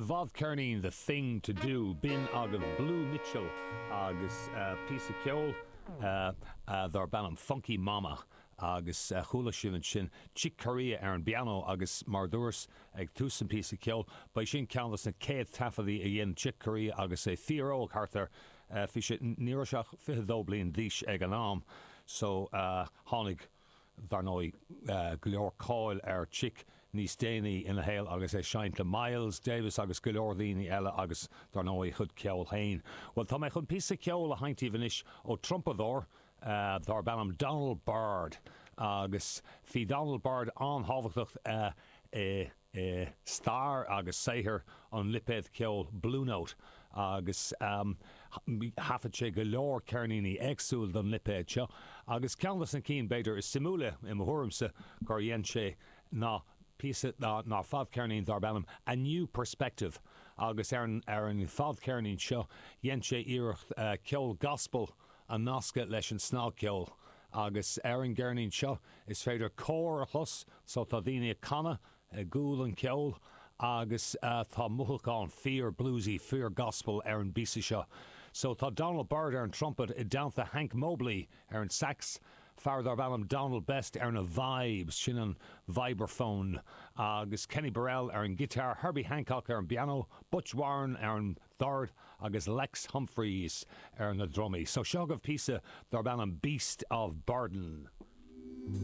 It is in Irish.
bhfadcheirnín The Thing To Do, b'in agaibh Blue Mitchell agus píosa ceoil darb ainm Funky Mama agus chuala sibh ansin Chick Corea ar an bpianó agus mar a dúras ag tús an phíosa ceoil, ba é sin ceann dos na céad taifeadaí a dhein Chick Corea agus é fíor-óg, thart ar, bhí sé, ní raibh sé ach 22 bliain d'aois ag an am so tháinig. Dar ndóigh, go leor cáil ar Chick níos déanaí ina shaol agus é ag seinnt le Miles Davis agus go leor daoine eile agus dar ndóigh a chuid ceoil féin. Bhuel, tá mé chun píosa ceoil a sheinnt daoibh anois ó trumpadóir darb ainm Donald Byrd agus bhí Donald Byrd an-thábhachtach i i stair agus saothar an lipéad ceoil Blue Note agus thaifead sé go leor ceirníní éagsúil don lipéad seo agus ceann dos na cinn b'fhéidir is suimiúla i mo thuairimse gur dhein sé ná píosa ná fadcheirnín darb ainm A New Perspective agus ar an ar an fadcheirnín seo dhein sé iarracht ceol gospel a nascadh leis an snagcheol agus ar an gceirnín seo is féidir cór a chlos so tá daoine ag canadh i gcúl an cheoil agus tá mothúchán fíor bluesy, fíor gospel ar an bpíosa seo. So tá Donald Byrd ar an trumpet i dteannta Hank Mobley ar an sax, fear darb ainm Donald Best ar na vibes, sin an vibraphone, agus Kenny Burrell ar an guitar, Herbie Hancock ar an bpianó, Butch Warren ar an dord agus Lex Humphries ar na drumaí. So seo agaibh píosa darb ainm Beast of Burden.